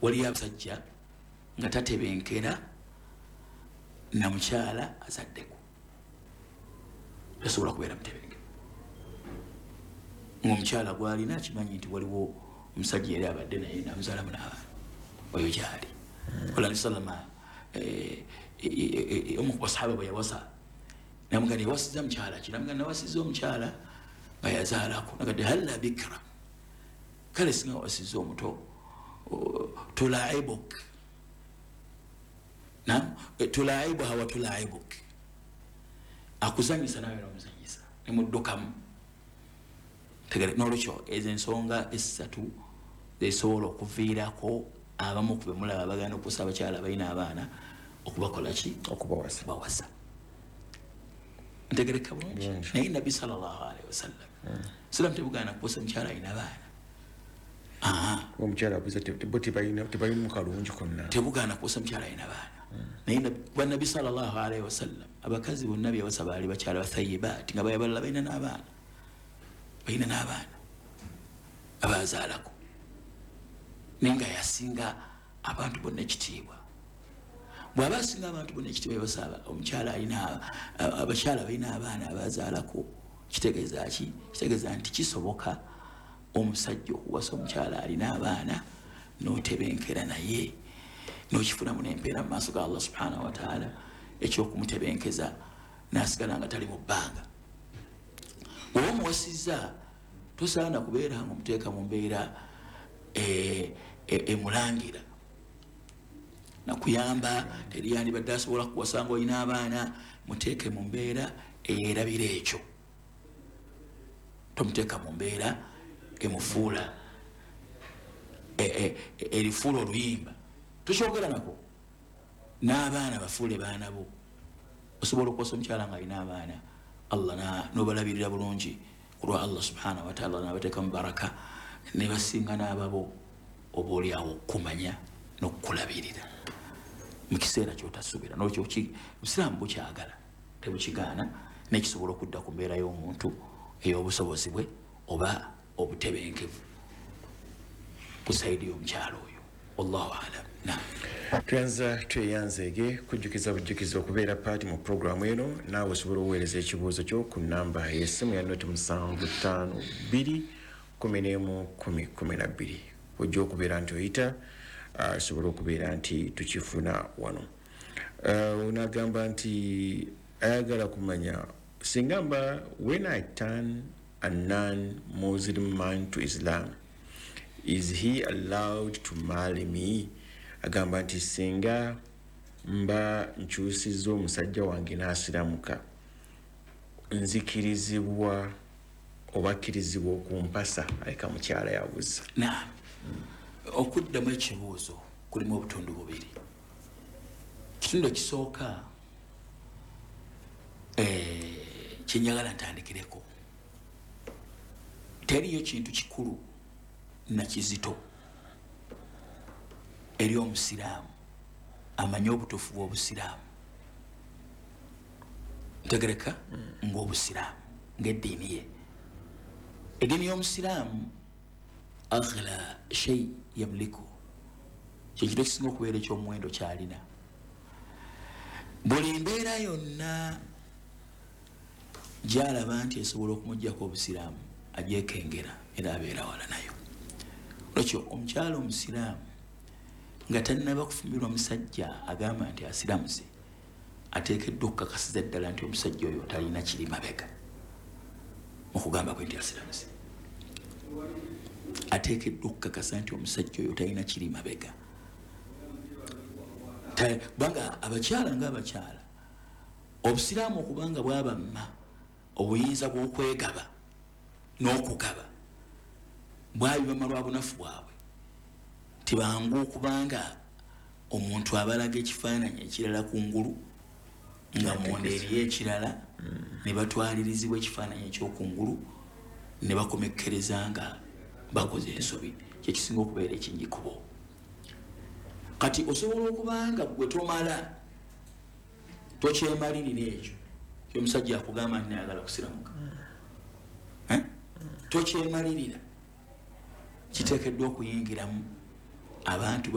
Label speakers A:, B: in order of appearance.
A: Waliyo abasajja nga tatebenkera na mukyala azaddeko, tasobola kubeera mutebenkevu ngaomukyala gwalina akimanyi nti waliwo omusajja yali abadde naye namuzaalamu n'abaana, oyo gyali. Ola salama omu ku basahaba bwe yawasa, namugamba, yawasiza mukyala ki? Namugamba, nawasiza omukyala nga yazaalako. Nagadde, halla bikra, kale singa wasiza omuto, tulaibuk nam tulaibuha wa tulaibuk, akuzanyisa nawe nomuzanyisa nemuddukamu. Tegere nolwekyo ezo ensonga esatu zesobola okuviirako abamu ku bemulaba bagenda okusa abakyala balina abaana okubakola ki?
B: Okubawasa.
A: Bawasa. Ntegereka bulungi?
B: Bulungi.
A: Naye Nabbi sallallahu alaihi wasallam silamu tebugaana kuwasa mukyala alina abaana.
B: Omukyala abuuza, bo tebalina kalungi konna?
A: Tebugaana kuwasa mukyala alina abaana, naye kuba Nabbi sallallahu alaihi wasallam abakazi bonna byawasa baali bakyala bathayibaati, nga bayabalala balina n'abaana, balina n'abaana abazaalako, naye nga yasinga abantu bonna ekitiibwa. Bw'aba asinga abantu bonna ekitiibwa, yabasaba omukyala alina, abakyala balina abaana abazaalako, kitegeeza ki? Kitegeeza nti kisoboka omusajja okuwasa omukyala alina abaana n'otebenkera naye n'okifunamu n'empeera mu maaso ga Allah subhanahu wataala ekyokumutebenkeza n'asigala nga tali mu bbanga. Oba omuwasizza, tosaana kubeera nga omuteeka mu mbeera emulangira nakuyamba teri yandibadde asobola kuwasa nga olina abaana. Muteeke mu mbeera eyerabira ekyo, tomuteeka mu mbeera emufuula erifuula oluyimba. Tokyogera nako n'abaana, bafuule baana bo. Osobola okuwasa omukyala nga alina abaana, Allah n'obalabirira bulungi kulwa Allah subhanahu wataala, nabateekamu baraka ne basinga n'ababo, oba oliawo okukumanya n'okukulabirira mu kiseera kyotasuubira. Nolwekyo obusiraamu bukyagala, tebukigaana, nekisobola okudda ku mbeera y'omuntu ey'obusobozi bwe oba obutebenkevu ku side y'omukyalo oyo. Wallahu alam, nam.
B: Tweyanza, tweyanzeege. Kujjukiza bujjukiza okubeera part mu puroguramu eno, naawe osobola okuweereza ekibuuzo kyo ku namba y'essimu ya 075 2 11 10 12. Ojja okubeera nti oyita, osobola okubeera nti tukifuna wano. Onagamba nti ayagala kumanya singa mba, when I turn a non-Muslim man to Islam, is he allowed to marry me? Agamba nti singa mba nkyusizza omusajja wange n'asiramuka, nzikirizibwa oba akkirizibwa okumpasa? Aleka mukyala yabuza.
A: Na okuddamu ekibuuzo kulimu obutundu bubiri. Kitundu ekisooka, kyenjagala ntandikireko, teriyo kintu kikulu nakizito eri omusiraamu amanye obutuufu bw'obusiraamu, ntegereka, ngaobusiraamu ngaeddiini ye, eddiini y'omusiraamu, aghla shay yamliku, kyekintu ekisinga okubeera ekyomuwendo kyalina. Buli mbeera yonna gyalaba nti esobola okumugjako obusiraamu, agyekengera era abeera wala nayo. Olwekyo omukyala omusiraamu nga tannaba kufumbirwa musajja agamba nti asiramuze, ateekeddwa okukakasiza ddala nti omusajja oyo talina kiri mabega mukugamba kwe nti asiramuze. Ateekeddwa okukakasa nti omusajja oyo talina kiri mabega, kubanga abakyala ngaabakyala, obusiraamu okubanga bwabamma obuyinza bw'okwegaba n'okugaba, bwabibama lwa bunafu bwabwe. Tibangu okubanga omuntu abalaga ekifaananyi ekirala kungulu nga munda eriyo ekirala, ne batwalirizibwa ekifaananyi ekyokungulu ne bakomekkereza nga bakoze ensobi. Kyekisinga okubeera ekingi kubo. Kati osobola okubanga gwe tomala tokyemalirira ekyo kyomusajja akugamba nti nayagala kusiramuka. Eh? Tokyemalirira, kiteekeddwa okuyingiramu abantu.